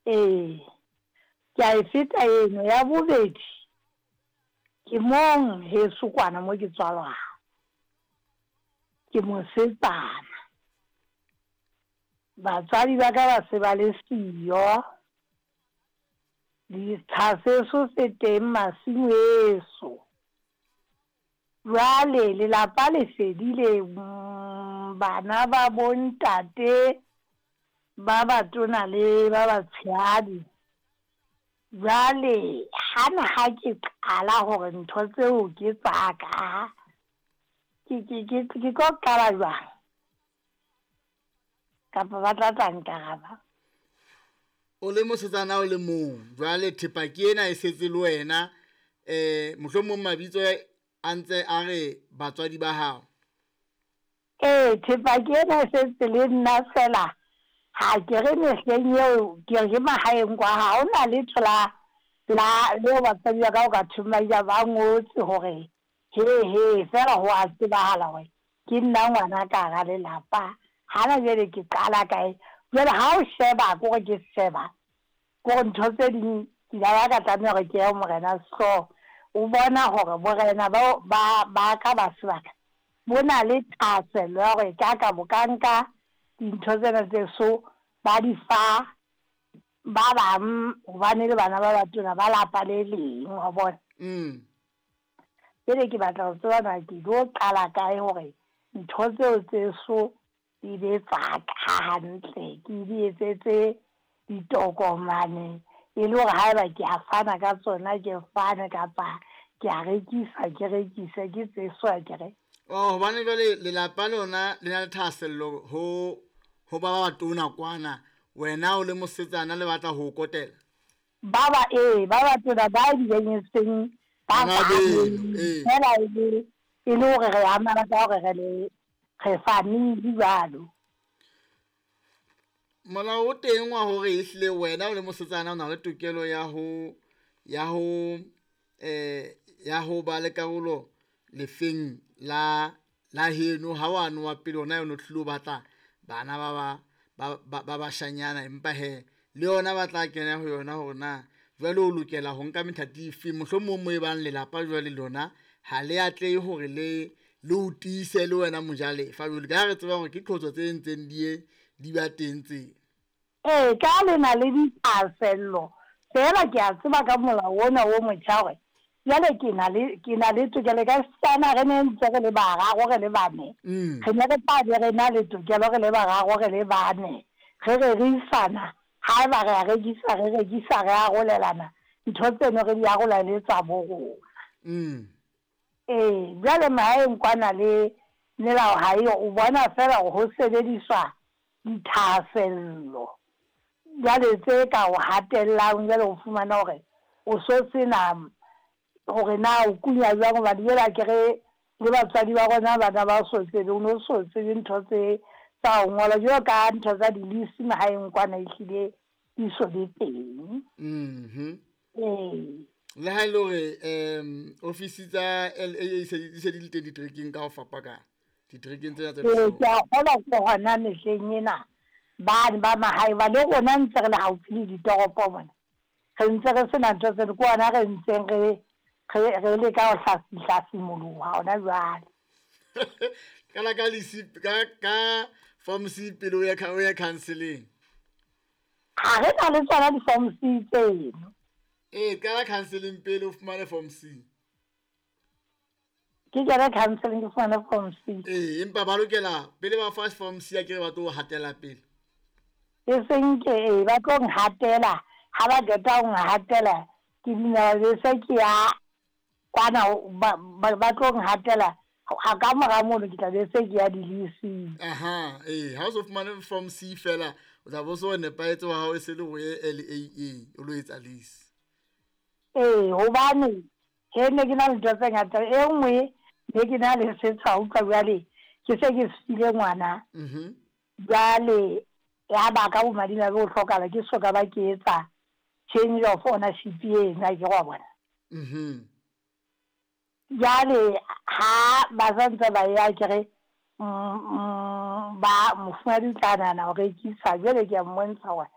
Ee, ke a e feta eno. Ya bobedi, ke mong heso kwana mo ke tswalwang. Ke mosetsana. Batswadi ba ka ba se ba le siyo. Ditsha seso se teng masimo eso. Bjale lelapa le fedile, bana ba bontate ba batona le ba batshehadi. Bjale gana ga ke qala gore ntho tseo ke tsa ka, ke, ke, ke, ke tlo qala jwang? Kapa ba tla tla nkaraba? O le mosetsana o le mong, jwale thepa ke ena e setse le wena, um mohlomong mabitso a ntse a re batswadi ba hao. Ee, thepa ke ena e setse le nna fela, ha ke re mehleng eo ke re ke mahaeng kwa, ha ho na letho la la leo batswadi ba ka o ka thweng ba ile ba ngotse hore he he, fela ho a tsebahala hore ke nna ngwana ka hara lelapa. Hana jwale ke qala kae? Jwale ha o sheba, kore ke sheba, kore ntho tse ding ke la ba ka tlameha hore ke ye ho Morena Sehlooho. O bona hore borena ba ba ba ka ba sebaka bo na le thahasello ya hore ka ka bo ka nka dintho tsena tse so ba di fa ba bang hobane le bana ba batona ba lapa le leng, wa bona. Jwale ke batla ho tseba na ke tlo qala kae hore ntho tseo tse so di be tsa ka hantle, ke di etsetse ditokomane e le hore haeba ke a fana ka tsona ke fane, kapa ke a rekisa ke rekise, ke tse so akere. Oh, hobane jwale lelapa lona le na le thahasello ho ho ba ba batona kwana, wena o le mosetsana le batla ho o kotela. Ba ba ee, ba batona ba bileng e seng ba Bana beno, ee. fela e le e le hore re amana ka hore re le re family jwalo. Molao o teng wa hore ehlile wena o le mosetsana o na le tokelo ya ho ya ho eh ya ho ba le karolo lefeng la la heno ha wa no wa pele ona yona o tlilo batla bana ba ba ba ba ba bashanyana, empa he le yona ba tla kena ho yona hore na jwale o lokela ho nka methati efe, mohlomong mo e bang lelapa jwale lona ha le atlehe hore le le o tiise le wena mojalefa jwale ka ha re tseba hore ke qhotso tse ntseng di ye di ba teng tse. Ee, ka le na le dithahasello feela ke a tseba ka molao ona o motjha hore jwale ke na le ke na le tokelo ka setsana re ne ntse re le bararo re le bane. Re ne re tla be re na le tokelo re le bararo re le bane, re rerisana haeba re a rekisa re rekisa re arolelana ntho tseno re di arola e le tsa bo rona. Ee, jwale mahaeng kwana le melao ha eyo, o bona feela hore ho sebediswa dithahasello jwale tse ka o hatellang, jwale o fumana hore o so sena hore na o kunya jwang, hobane jwale akere le batswadi ba rona bana ba so tsebe, o no so tsebe ntho tse tsa ho ngola jwalo ka ntho tsa di-lease mahaeng kwana ehlile di so be teng. Ee. Le ha e le hore um ofisi tsa LAA se di se di le teng diterekeng ka ho fapakana, diterekeng tsena tse Ee, ke a kgolwa ke hona mehleng ena bane ba mahae ba le rona ntse re le haufi le ditoropo mona, re ntse re sena ntho tseno, ke hona re ntseng re re re leka ho hlasimoloha hona jwale. Qala ka lisi ka ka form C pele o ye o ye counseling. Ha re na le tsona di-form C tseno. Ee, qala counseling pele o fumane form C. Ke kene counseling ke fumane form C. Ee, empa ba lokela pele ba fa form C akere ba tlo hatela pele. E seng ke ee, ba tlo nhatela, ha ba qeta ho nhatela ke dumela be se ke ya kwana ba ba ba tlo nhatela ha ka mora mono ke tla be se ke ya di-leasing. Aha, ee, ha o so fumane form C fela o tla bo so nepahetse wa hao e se le o ye LAA o lo etsa lease. Ee, hobane he ne ke na le ntho tse ngata, e nngwe ne ke na le setsha utlwa jwale ke se ke se file ngwana. Jwale ya ba ka bomadimabe ho hlokahala ke so ka ba ke etsa change of ownership eno akere wa bona. Jwale ha ba santse ba ya akere ba mofumahadi o tla nahana ho rekisa, jwale ke a mmontsha hore